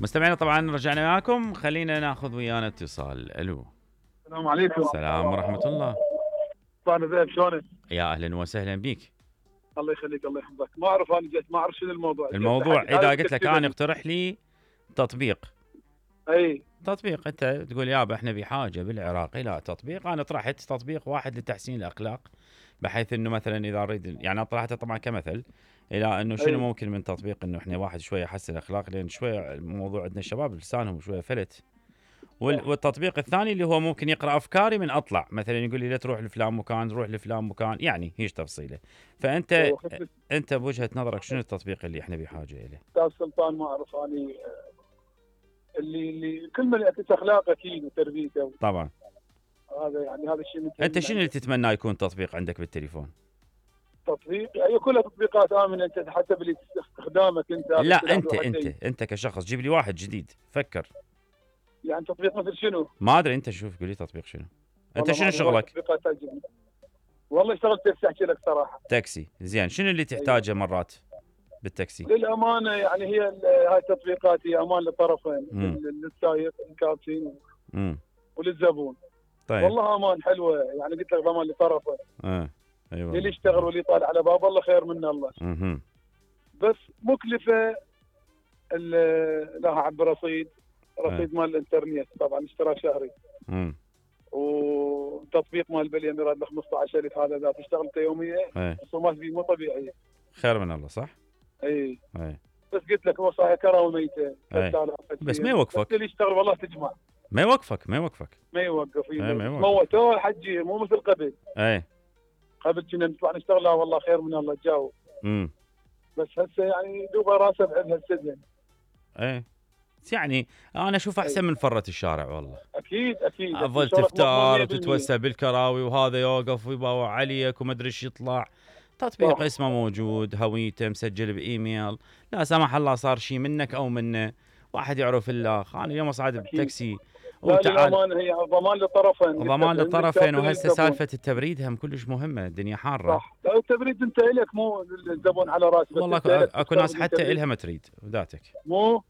مستمعينا طبعا رجعنا معكم، خلينا ناخذ ويانا اتصال. الو. السلام عليكم. السلام ورحمة الله. طال زين شلونك؟ يا اهلا وسهلا بيك. الله يخليك الله يحفظك. ما اعرف انا جيت ما اعرف شنو الموضوع. اذا قلت لك انا اقترح لي تطبيق. اي تطبيق انت تقول يابا احنا بحاجه بالعراق الى تطبيق. انا طرحت تطبيق واحد لتحسين الاخلاق، بحيث انه مثلا اذا اريد يعني انا طرحته طبعا كمثل الى انه شنو ممكن من تطبيق انه احنا واحد شويه يحسن الاخلاق، لان شويه الموضوع عندنا الشباب لسانهم شويه فلت. والتطبيق الثاني اللي هو ممكن يقرا افكاري من اطلع، مثلا يقول لي لا تروح لفلان مكان، روح لفلان مكان، يعني هيش تفصيله. فانت بوجهه نظرك شنو التطبيق اللي احنا بحاجه اليه؟ استاذ سلطان ما اعرف اني اللي كل من يعكس اخلاقه اكيد وتربيته. طبعا هذا يعني هذا الشيء. انت شنو اللي تتمنى يكون تطبيق عندك بالتليفون؟ تطبيق يعني كلها تطبيقات امنه، انت حسب استخدامك انت. لا انت كشخص جيب لي واحد جديد فكر. يعني تطبيق مثل شنو؟ ما ادري، انت شوف قول لي تطبيق شنو. انت شنو شغلك؟ والله اشتغلت تاكسي، احكي لك صراحه. تاكسي، زين. شنو اللي تحتاجه مرات بالتاكسي؟ للامانه يعني هي هاي التطبيقات هي امان للطرفين، للسائق الكابتن وللزبون. طيب والله امان حلوه، يعني قلت لك ضمان لطرفه. ايوه اللي يشتغل واللي يطالع على باب الله خير من الله. بس مكلفه لها عبر رصيد مال الانترنت طبعا، اشتراك شهري. وتطبيق مال بليم يراد له 15,000. هذا اذا تشتغل انت يوميا الرسومات فيه مو طبيعيه. خير من الله صح؟ اي بس قلت لك هو صحيح كرامه ميته. بس ما يوقفك. اللي يشتغل والله تجمع. ما يوقف. ما يوقف. موته حجي مو مثل قبل. قبل كنا نطلع نشتغل. لا والله خير من الله تجاوب. بس هسه يعني دوبه راسه بعدها السجن. يعني انا اشوف احسن من فرة الشارع والله. اكيد افضل تفتار وتتوسع بالكراوي وهذا يوقف ويباوع عليك وما ادري ايش يطلع. تطبيق اسمه موجود، هويته مسجل بايميل، لا سمح الله صار شيء منك او منه، واحد يعرف الاخ. انا اليوم صعد بتاكسي وتعال هي ضمان للطرفين. وهسه سالفه التبريد هم كلش مهمه، الدنيا حاره. صح. لا التبريد انت الك مو الزبون على راسك. والله اكو ناس حتى الها ما تريد ذاتك مو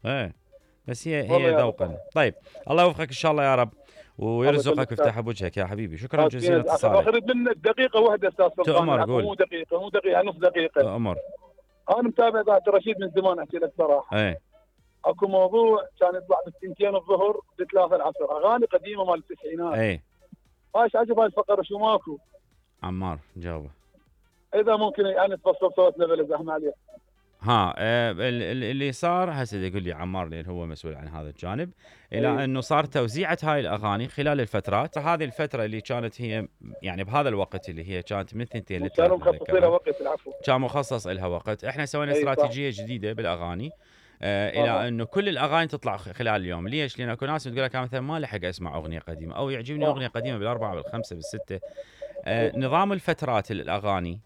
بس هي ذوقا. طيب الله يوفقك ان شاء الله يا رب ويرزقك ويفتح بوجهك يا حبيبي. شكرا جزيلا لاتصالك. اريد منك دقيقه واحده استاذ سلطان. تؤمر قول. مو دقيقه نص دقيقه. تؤمر. انا متابع ذات رشيد من زمان، احكي لك صراحه. اكو موضوع كان يطلع بالثنتين الظهر بثلاثة العصر، اغاني قديمه مال التسعينات. ايش عجب هاي الفقره شو ماكو؟ عمار جاوبه. اذا ممكن يعني تفصل صوتنا بلا زحمه عليه. اللي صار هسه يقول لي عمار لان هو مسؤول عن هذا الجانب، الى انه صار توزيعه هاي الاغاني خلال الفترات. هذه الفتره اللي كانت هي يعني بهذا الوقت اللي هي كانت من 2 ل 3 كانوا مخصصين لها وقت. العفو. كان مخصص لها وقت. احنا سوينا استراتيجيه جديده بالاغاني الى انه كل الاغاني تطلع خلال اليوم. ليش؟ لان اكو ناس تقول لك مثلا ما لحق اسمع اغنيه قديمه او يعجبني اغنيه قديمه بالاربعه بالخمسه بالسته. نظام الفترات الاغاني